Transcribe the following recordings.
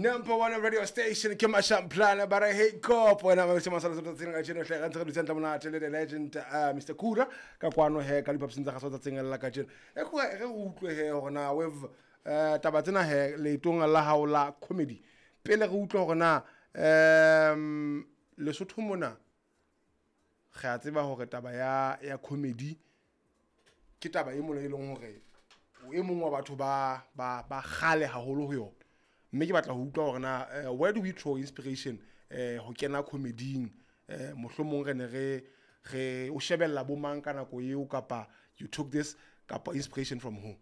Number one radio station ke Mashamplana ba re hey cop wena ba se masala tsatsing la kajeno hle re ntse re dutse hantle monate le the legend Mr Kura ka kwano he ka diphaposing tsa gaso tsatsing la kajeno. E go re utlwe he hore na we've taba tsena he leetong la hao la comedy pele re utlwe hore na Lesotho mona re a tseba hore taba ya comedy ke taba e mona e leng hore o e mong wa batho ba kgale haholo ho yona, mme ke batla ho utlwa hore na where do we draw inspiration ho kena comedy-ing, mohlomong re ne re o shebella bo mang ka nako eo, kapa you took this kapa inspiration from who?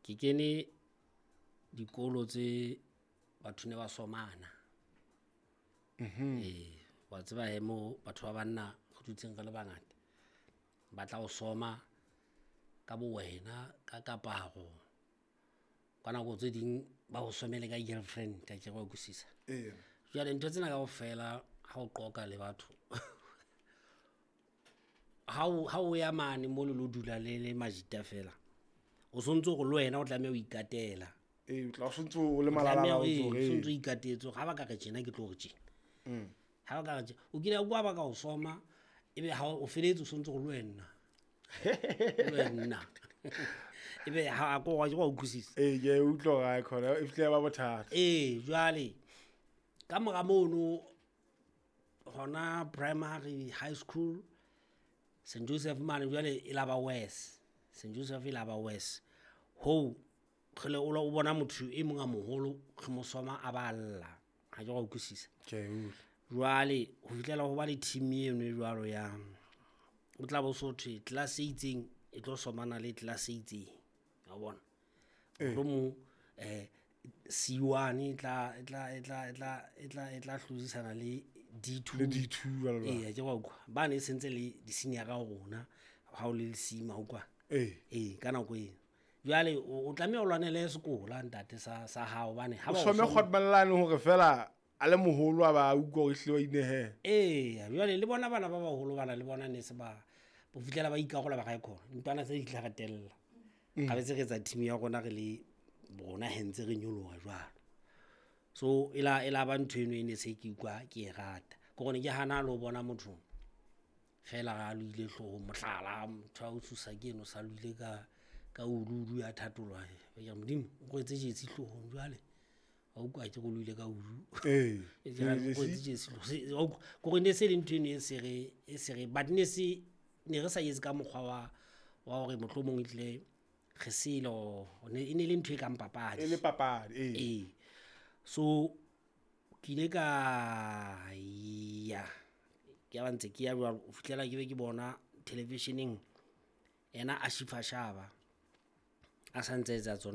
Ke kene dikolo tse batho ne ba somana. Ee, wa tseba he mo batho ba banna re dutseng re le bangata ba tla o soma ka bo wena ka kaparo, ka nako tse ding ba o somele ka girlfriend, ka ke re wa utlwisisa. Jwale ntho tsena kaofela ha o qoqa le batho ha o ya mane mo le lo dula le le majita fela, o sontso hore le wena o tlameha ho ikatela. Ee, o tla o sontso o le malala, o ntso o sontso o ikatetse hore ha ba ka re tjena ke tlo re tjena. Ha ba ka re tjena, o kile wa bua ba ka o soma, ebe ha o feletse o sontso hore le wena. Le wena. Ebe ha ko wa wa utlwisisa. Ee, ke a utlwa hore ha khona e fihle ya ba bothata. Ee, jwale ka mora mono hona primary high school St Joseph mane, jwale e la ba worse. St Joseph e la ba worse. Ho kgele o lo o bona motho e mong a moholo re mo soma a ba lla, ha ke wa utlwisisa. Ke a utlwa. Jwale ho fihlela ho ba le team eno e jwalo ya o tla bo so thwe class e itseng e tlo somana le class e itseng, wa bona. Mohlomong C1 e tla hlodisana le D2. Le D2 jwalo jwalo. Ee, ke wa utlwa ba ne sentse le di-senior ho rona ha o le lesima utlwa. Ee, ka nako eo jwale o tlameha o lwanele sekola ntate sa hao hobane ha o ba o some kgotmallane hore fela a le moholo a ba utlwa hore ehlile wa inehela. Ee, jwale le bona bana ba baholo bana le bona ne se ba bo fihlela ba ikarola ba kae khona ntwana tse di tla re tella ga betse re etsa team ya rona re le rona he ntse re nyoloha jwalo. So e la ba ntho eno e ne se ke utlwa ke e rata ke gone ke hana le ho bona motho fela ga a loile hloohong, mohlala motho a o tshosa ke eno sa loile ka uluulu ya thatolwa ya modimo o kwetse jetsi hloohong, jwale wa utlwa ke go loile ka ulu. E ke re kwetse jetsi wa utlwa kore ne se le ntho eno e se re but ne se ne re sa etse ka mokgwa wa hore mohlomong e tlile re selo ne e ne le ntho e kang papadi. E le papadi, ee. Ee, so ke ile ka ya ke ba ntse ke ya jwalo ho fihlela ke be ke bona televisioneng ena a Shifa Shaba a sa ntse etsa tsona.